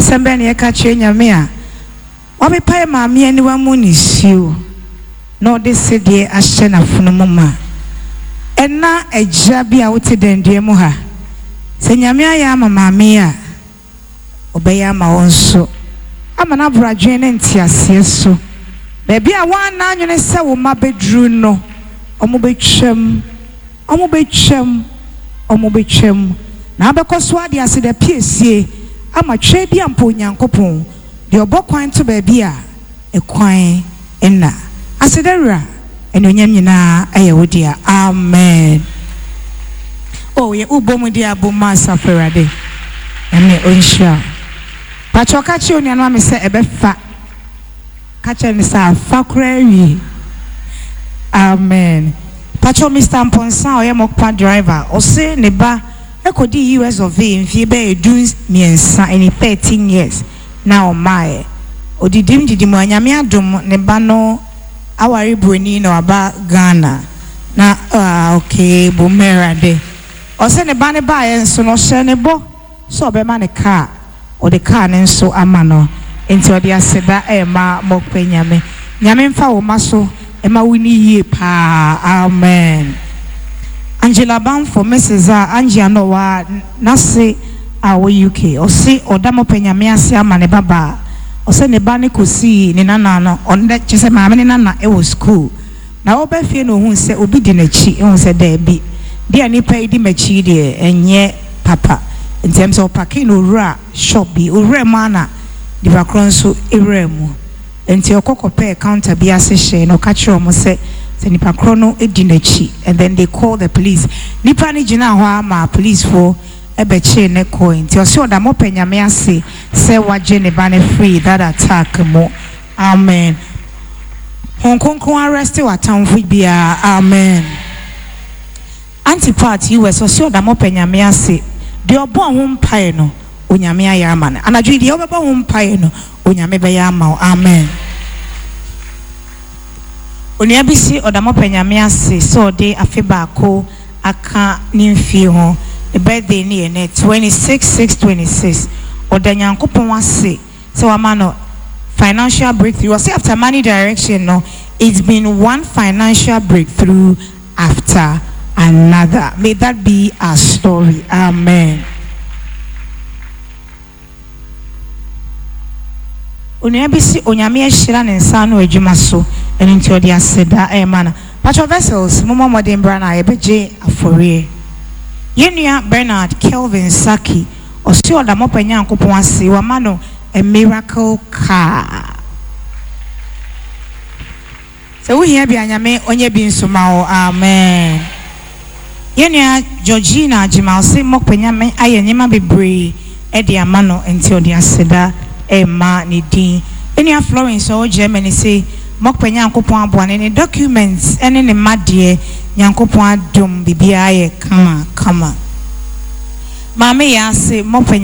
Asɛm bɛn na yɛka kyerɛ Nyame a wapepa yɛ maame aniwa mu nisuo na ɔde sedeɛ ahyɛ n'afono mu ma? Ɛna agya bi a wote dandua mu ha, sɛ Nyame ayɛ ama maame yi a, ɔbɛyɛ ama wo nso, ama no aboro adwene ne nteaseɛ so. Baabi a woanna anwene sɛ wo mma bɛduru no, wɔbɛtwam, wɔbɛtwam, wɔbɛtwam, na wobɛkɔ so ara de aseda piesie ama Tweaduampa Onyankopɔn, deɛ ɔbɔ kwan to baabi a ɛkwan nna. Aseda Wura, anuonyam nyinaa yɛ wo dea. Amen. Oh, yɛ wobɔ mu de abom ma Asafo Awurade. Nyame ɔnhyira wo. Pakyɛ ka kyerɛ onua no ma me sɛ ɛbɛfa. Ka kyerɛ no sɛ afa koraa awie. Amen. Pakyɛ Mister Mpɔnsa a ɔyɛ Mokpa driver, ɔse ne ba kɔdii US of A mfie bɛyɛ 13, ɛne 13 years na ɔmmaeɛ. Ɔdidim didim a, Nyame adom ne ba no aware broni na waba Ghana. Na ah okay, bom Awurade. Ɔse ne ba no baeɛ nso no ɔhyɛɛ ne bɔ sɛ ɔbɛma no car. Ɔde car no nso ama no nti ɔde aseda rema Mokpe Nyame. Nyame mfa wo mma so ma wo nni yie paa Amen. Angela Bamfo Mrs a Angie Anowaa n'ase a ɔwɔ UK ɔse ɔda Mokpe Nyame ase ama ne ba baa. Ɔsɛ ne ba no kɔsii ne nana no ɔnɛ kyerɛ sɛ maame ne nana wɔ school na ɔba fie na ɔhuu sɛ obi di n'akyi ɔhu sɛ daabi deɛ nipa yi di m'akyi yi deɛ ɛnyɛ papa nti ɛm sɛ ɔpake na ɔwura shop bi ɔwura mu ara na nipa korɔ nso wuraa mu nti ɔkɔ kɔpɛɛ counter bi ase hyɛɛ na ɔka kyerɛɛ wɔn sɛ sɛ nipa korɔ no di n'akyi and then they called the police nipa no gyinaa hɔ ara maa police foɔ bɛkyee no kɔe nti ɔse ɔda mɔpɛ Nyame ase sɛ wagye ne ba no firi that attack mu Amen Hon Kronkron arrest w'atamfo biaa Amen Auntie Pat US ɔse ɔda mɔpɛ Nyame ase deɛ ɔbɔɔ ho mpaeɛ no Onyame ayɛ ama no anadwo yi deɛ wobɛbɔ ho mpaeɛ no Onyame bɛyɛ ama wo Amen Onua bi se ɔda mɔpɛ Nyame ase sɛ ɔde afe baako aka ne mfie ho, ne birthday no yɛ nɛ 26 6 26, ɔda Nyankopɔn ase sɛ wama no financial breakthrough, ɔse after money direction no it's been one financial breakthrough after another, may that be our story, amen. Onua bi se Onyame ahyira ne nsa ano adwuma so, ɛno nti ɔde aseda rema no. Patrɔ Vessels, mommɔ mmɔden mbra na yɛbɛgye afɔreɛ. Yɛn nua Bernard Kelvin Sackey, ɔse ɔda Mɔpa Nyankopɔn ase wama no a miracle car. Sɛ wo hia bi a Nyame ɔnyɛ bi nso ma wo amen. Yɛn nua Georgina Agyemang ɔse Mokpe Nyame ayɛ nneɛma bebree de ama no nti ɔde aseda rema ne din. Yɛn nua Florence ɔwɔ Germany se Mokpe Nyankopɔn aboa no ne documents ne ne mma deɛ Nyankopɔn adom biribiara ayɛ kama kama. Maame Yaa se Mokpe.